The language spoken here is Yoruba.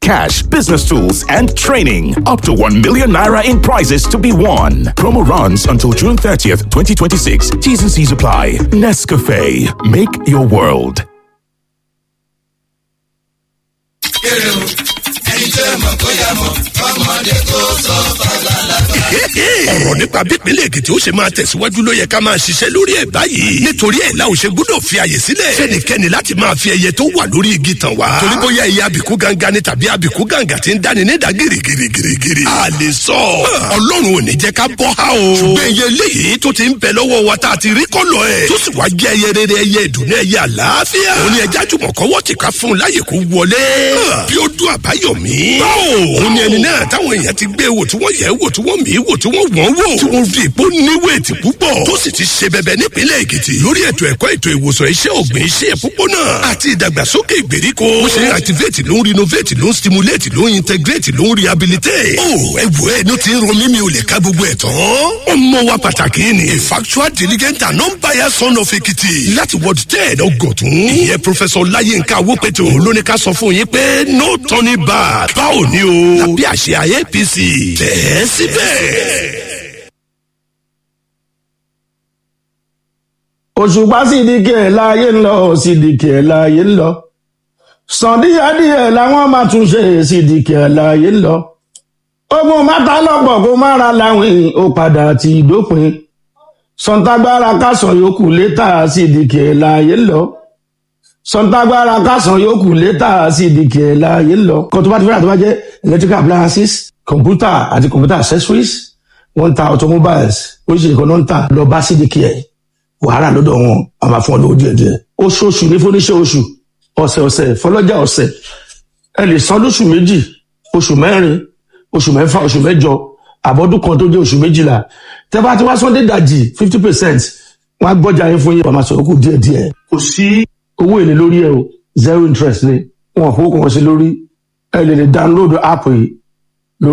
Cash, business tools, and training. Up to 1 million naira in prizes to be won. Promo runs until June 30th, 2026. T's and C's apply. Nescafe. Make your world. Ọ̀rọ̀ nípa bípínlẹ̀ Èkìtì ó ṣe máa tẹ̀síwájú ló yẹ ká máa ṣiṣẹ́ lórí ẹ̀ báyìí. Nítorí ẹ̀ la ò ṣe gbọ́dọ̀ fi àyè sílẹ̀ fẹ́nikẹ́ni láti máa fi ẹyẹ tó wà lórí igi tàn wá. Torí bóyá ẹyẹ àbíkú gangan ni tàbí àbíkú gàǹgà ti ń dáni nídàá gírígírígírí. A lè sọ Ọlọ́run ò ní jẹ́ ká bọ́ há o. Ṣùgbọ́n ẹyẹ eléyìí tó ti ń bẹ lọ́wọ́ wa tá a ti rí kọ́lọ̀ ẹ̀ tó sì wá jẹ́ ẹyẹ rere, ẹyẹ ìdùnnú, ẹyẹ àlàáfíà. Òun ni ẹja jùmọ̀ kọ́wọ́ ti ká fún un láyè kó wọlé. Bí ó dún Àbáyọ̀mí. Òun ni ẹni náà táwọn èèyàn ti gbé wò, tí wọ́n yẹ̀ wò, tí wọ́n mí wò, tí wọ́n wọ́n wò, tí wọ́n fi ìpó níwèétì púpọ̀, tó sì ti ṣe bẹbẹ nípínlẹ̀ Èkìtì lórí ètò ẹ̀kọ́, ètò ìwòsàn, iṣẹ́ ọ̀gbìn, iṣẹ́ ìpópónà àti ìdàgbàsókè ìgbèríko. Ó ṣe ń activate, ló ń renovate, ló ń stimulate, ló ń integrate, ló ń rehabilitate. Ó ẹ wò ẹ ní ti ń ro mímí ò lè ká gbogbo ẹ̀ tán. Ọmọ wa pàtàkì ni a factual, diligent and non-biased son of Èkìtì láti Ward 10, Ọgọ̀tún. Ìyẹn Professor Láyínká Awópẹ̀tò ló ní ká sọ fún yín pé no turning back. Báwo ni o? Lábẹ́ àṣẹ APC, tẹ̀ ẹ́ síbẹ̀. Òṣùpá Sídìkì ẹ̀ láàyè ń lọ, Sídìkì ẹ̀ láàyè ń lọ. Sàn díẹ̀díẹ̀ làwọn máa tún ṣe, Sídìkì ẹ̀ láàyè ń lọ. Ogun mátà lọ́pọ̀ kó má ra láwìn, ó padà ti dópin. Sọ̀ǹtàgbára kásán yòókù létà, Sídìkì ẹ̀ láàyè ń lọ. Sọ̀ǹtàgbára kásán yòókù létà, Sídìkì ẹ̀ láàyè ń lọ. Kan tó bá ti fẹ́ràn tó bá jẹ́ electrical appliances, computer àti computer accessories, wọ́n ń ta automobiles, oríṣiríṣi kan náà ń tà. Lọ bá Sídìkì ẹ̀, wàhálà lọ́dọ̀ wọn a máa fún ọ lówó díẹ̀ díẹ̀. Oṣooṣù ní fúnníṣẹ́ oṣù, ọ̀sẹ̀ ọ̀sẹ̀ fọlọ́jà ọ̀sẹ̀. Ẹ lè san lóṣù 2, oṣù 4, oṣù 6, oṣù 8, àbọ̀dún kan tó jẹ́ oṣù 12. Tẹ́ bá ti wá sọ́ndé dàjì 50%, wọ́n á gbọ́jà yín fún yín, wọ́n máa sọ̀rọ̀ kù díẹ̀ díẹ̀. Kò sí owó èlé lórí ẹ o, zero interest ni. Wọn kò kàn sí lórí. Ẹ lè download app yìí.